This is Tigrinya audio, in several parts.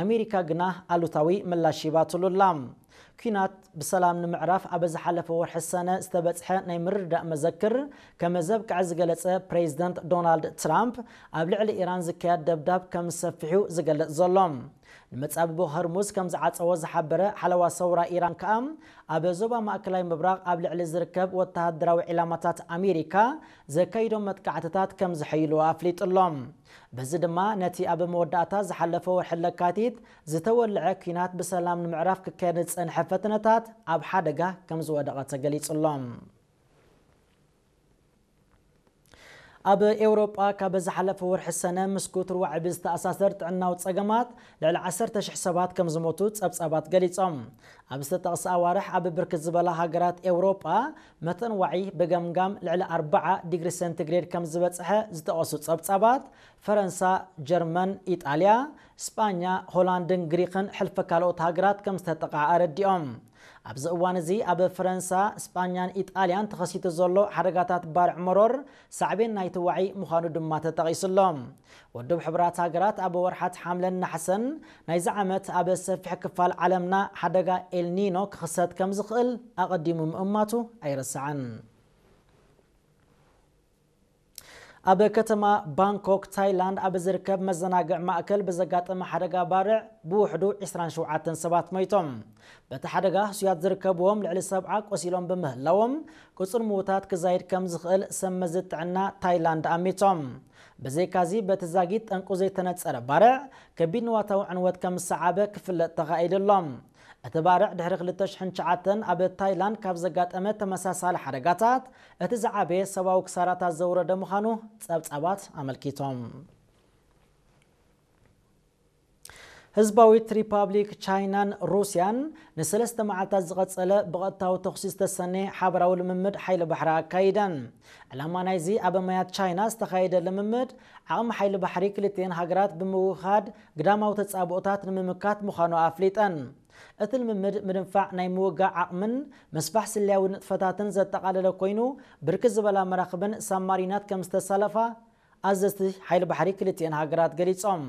ኣሜሪካ ግና ኣሉታዊ ምላሽ ሂባትሉ ኣላ። ኲናት ብሰላም ንምዕራፍ ኣብ ዝሓለፈ ወርሒ ሰነ ዝተበጽሐ ናይ ምርድዳእ መዘክር ከም ዘብቅዐ ዝገለጸ ፕሬዚደንት ዶናልድ ትራምፕ፣ ኣብ ልዕሊ ኢራን ዝካየድ ደብዳብ ከም ዝሰፍሕ እዩ ዝገልጽ ዘሎ። ንመጻብቦ ሆርሙዝ ከም ዝዓጸዎ ዝሓበረ ሓለዋ ሰውራ ኢራን ከኣ፣ ኣብ ዞባ ማእከላይ ምብራቕ ኣብ ልዕሊ ዝርከብ ወተሃደራዊ ዒላማታት ኣሜሪካ ዘካይዶ መጥቃዕትታት ከም ዘሐይሉ ኣፍሊጡ ኣሎ። በዚ ድማ ነቲ ኣብ መወዳእታ ዝሓለፈ ወርሒ ለካቲት ዝተወልዐ ኲናት ብሰላም ንምዕራፍ ክካየድ ዝጸንሐ ፈተነታት ኣብ ሓደጋ ከም ዝወደቐ ተገሊጹ ኣሎ። ኣብ ኤውሮጳ ካብ ዝሓለፈ ወርሒ ሰነ ምስ ኩትር ዋዒ ብዝተኣሳሰር ጥዕናዊ ጸገማት ልዕሊ ዓሰርተ ሽሕ ሰባት ከም ዝሞቱ ጸብጻባት ገሊጾም። ኣብ ዝተጠቕሰ ኣዋርሕ ኣብ ብርክት ዝበላ ሃገራት ኤውሮጳ መጠን ዋዒ ብገምጋም ልዕሊ ኣርብዓ ዲግሪ ሴንቲግሬድ ከም ዝበጽሐ ዝጠቐሱ ጸብጻባት፣ ፈረንሳ፣ ጀርመን፣ ኢጣልያ፣ ስጳኛ፣ ሆላንድን ግሪኽን ሕልፊ ካልኦት ሃገራት ከም ዝተጠቕዓ ኣረዲኦም። ኣብዚ እዋን እዚ ኣብ ፈረንሳ፣ ስጳኛን ኢጣልያን ተኸሲቱ ዘሎ ሓደጋታት ባርዕ መሮር ሳዕቤን ናይቲ ዋዒ ምዃኑ ድማ ተጠቒሱ ኣሎ። ውድብ ሕቡራት ሃገራት ኣብ ወርሓት ሓምለን ናሕሰን ናይዚ ዓመት ኣብ ሰፊሕ ክፋል ዓለምና ሓደጋ ኤልኒኖ ክኽሰት ከም ዝኽእል ኣቐዲሙ ምእማቱ ኣይረስዓን። ኣብ ከተማ ባንኮክ ታይላንድ ኣብ ዝርከብ መዘናግዕ ማእከል ብዘጋጠመ ሓደጋ ባርዕ ብውሕዱ ዕስራን ሸውዓተን ሰባት ሞይቶም። በቲ ሓደጋ ህሱያት ዝርከብዎም ልዕሊ ሰብዓ ቆሲሎም ብምህላዎም፣ ቁጽሪ ምዉታት ክዛይድ ከም ዝኽእል ሰብ መዚ ጥዕና ታይላንድ ኣሚቶም። ብዘይካዚ፣ በቲ ዛጊት ጠንቁ ዘይተነጸረ ባርዕ ከቢድ ንዋታዊ ዕንወት ከም ዝሰዓበ ክፍለጥ ተኻኢሉ ኣሎ። እቲ ባርዕ ድሕሪ ክልተ ሽሕን ትሽዓተን ኣብ ታይላንድ ካብ ዘጋጠመ ተመሳሳሊ ሓደጋታት እቲ ዝዓበየ ሰብኣዊ ክሳራታት ዘውረደ ምዃኑ ጸብጻባት ኣመልኪቶም። ህዝባዊት ሪፓብሊክ ቻይናን ሩስያን ንሰለስተ መዓልታት ዝቐጸለ ብቐጥታዊ ተኹሲ ዝተሰነየ ሓበራዊ ልምምድ ሓይሊ ባሕሪ ኣካይደን። ዕላማ ናይዚ ኣብ ማያት ቻይና ዝተኻየደ ልምምድ ዓቕሚ ሓይሊ ባሕሪ ክልቲኤን ሃገራት ብምውህሃድ ግዳማዊ ተጻብኦታት ንምምካት ምዃኑ ኣፍሊጠን። እቲ ልምምድ ምድንፋዕ ናይ ምውጋእ ዓቕምን ምስፋሕ ስለያዊ ንጥፈታትን ዘጠቓለለ ኮይኑ፣ ብርክት ዝበላ መራኽብን ሳብማሪናት ከም ዝተሳለፋ ኣዘዝቲ ሓይሊ ባሕሪ ክልቲኤን ሃገራት ገሊጾም።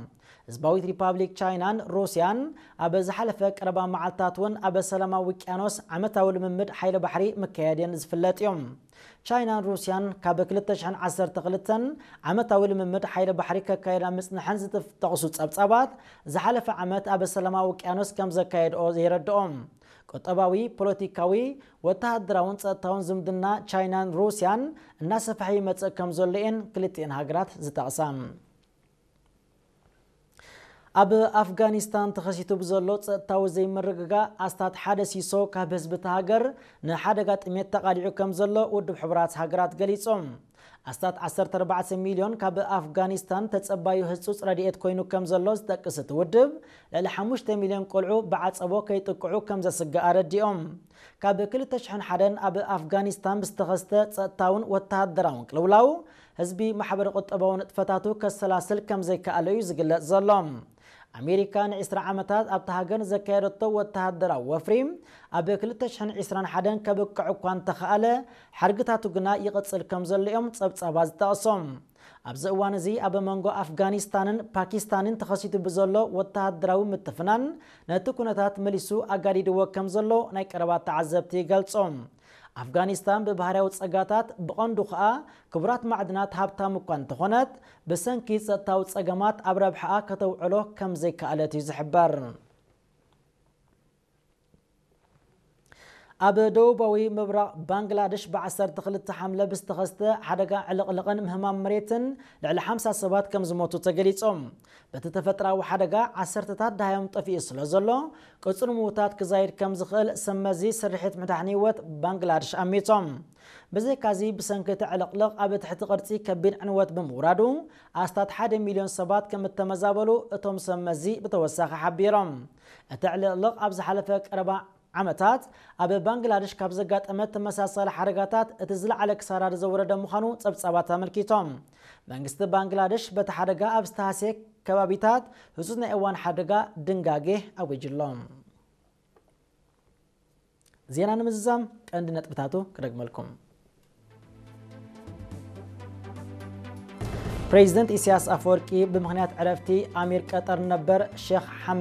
ህዝባዊት ሪፓብሊክ ቻይናን ሩስያን ኣብ ዝሓለፈ ቀረባ መዓልታት እውን ኣብ ሰላማዊ ውቅያኖስ ዓመታዊ ልምምድ ሓይሊ ባሕሪ ምክያድን ዝፍለጥ እዩ። ቻይናን ሩስያን ካብ ክልተ ሽሕን ዓሰርተ ክልተን ዓመታዊ ልምምድ ሓይሊ ባሕሪ ከካየዳ ምጽንሐን ዝጠቕሱ ጸብጻባት፣ ዝሓለፈ ዓመት ኣብ ሰላማዊ ውቅያኖስ ከም ዘካየድኦ የረድኦ። ቁጠባዊ፣ ፖለቲካዊ፣ ወተሃደራውን ጸጥታውን ዝምድና ቻይናን ሩስያን እናሰፍሐ ይመጽእ ከም ዘሎ እየን ክልቲኤን ሃገራት ዝጠቕሳ። ኣብ ኣፍጋኒስታን ተኸሲቱ ብዘሎ ጸጥታዊ ዘይምርግጋእ ኣስታት ሓደ ሲሶ ካብ ህዝቢ እታ ሃገር ንሓደጋ ጥሜት ተቓሊዑ ከም ዘሎ ውድብ ሕቡራት ሃገራት ገሊጹ። ኣስታት ዓሰርተ ኣርባዕተ ሚልዮን ካብ ኣፍጋኒስታን ተጸባዩ ህጹጽ ረድኤት ኮይኑ ከም ዘሎ ዝጠቅስ እቲ ውድብ፣ ልዕሊ ሓሙሽተ ሚልዮን ቆልዑ ብዓጸቦ ከይጥቅዑ ከም ዘስግእ ኣረዲኦም። ካብ ክልተ ሽሕን ሓደን ኣብ ኣፍጋኒስታን ብዝተኸስተ ጸጥታውን ወተሃደራውን ቅልውላው፣ ህዝቢ ማሕበረ ቁጠባዊ ንጥፈታቱ ከሰላስል ከም ዘይከኣለ እዩ ዝግለጽ ዘሎ። ኣሜሪካ ንዕስራ ዓመታት ኣብታ ሃገር ዘካየደቶ ወተሃደራዊ ወፍሪ ኣብ ክልተ ሽሕን ዕስራን ሓደን ከብቅዕ እኳ እንተኸኣለ፣ ሓድግታቱ ግና ይቕጽል ከም ዘሎ እዮም ጸብጻባት ዝጠቕሶም። ኣብዚ እዋን እዚ ኣብ መንጎ ኣፍጋኒስታንን ፓኪስታንን ተኸሲቱ ብዘሎ ወተሃደራዊ ምትፍናን ነቲ ኩነታት መሊሱ ኣጋዲድዎ ከም ዘሎ ናይ ቀረባ ተዓዘብቲ ይገልጹ። ኣፍጋኒስታን ብባህርያዊ ጸጋታት ብቐንዱ ከኣ ክቡራት ማዕድናት ሃብታም እኳ እንተኾነት፣ ብሰንኪ ጸጥታዊ ጸገማት ኣብ ረብሓኣ ከተውዕሎ ከም ዘይከኣለት እዩ ዝሕበር። ኣብ ደቡባዊ ምብራቕ ባንግላደሽ ብዓሰርተ ክልተ ሓምለ ብዝተኸስተ ሓደጋ ዕልቕልቕን ምህማም መሬትን ልዕሊ ሓምሳ ሰባት ከም ዝሞቱ ተገሊጾም። በቲ ተፈጥራዊ ሓደጋ ዓሰርተታት ደሃዮም ጠፊኡ ስለ ዘሎ፣ ቁጽሪ ምዉታት ክዛይድ ከም ዝኽእል ሰብ መዚ ስርሒት ምድሓን ህይወት ባንግላደሽ ኣሚቶም። ብዘይካዚ፣ ብሰንኪ እቲ ዕልቕልቕ ኣብ ትሕቲ ቅርጺ ከቢድ ዕንወት ብምውራዱ፣ ኣስታት ሓደ ሚልዮን ሰባት ከም እተመዛበሉ እቶም ሰብ መዚ ብተወሳኺ ሓቢሮም። እቲ ዕልቕልቕ ኣብ ዝሓለፈ ቀረባ ዓመታት ኣብ ባንግላደሽ ካብ ዘጋጠመ ተመሳሳሊ ሓደጋታት እቲ ዝለዓለ ክሳራ ዘውረደ ምዃኑ ጸብጻባት ኣመልኪቶም። መንግስቲ ባንግላደሽ በቲ ሓደጋ ኣብ ዝተሃስየ ከባቢታት ህጹጽ ናይ እዋን ሓደጋ ድንጋጌ ኣዊጁ ኣሎ። ዜና ንምዝዛም ቀንዲ ነጥብታቱ ክደግመልኩም። ፕሬዚደንት ኢሳያስ ኣፈወርቂ ብምኽንያት ዕረፍቲ ኣሚር ቀጠር ነበር ሼኽ ሓመድ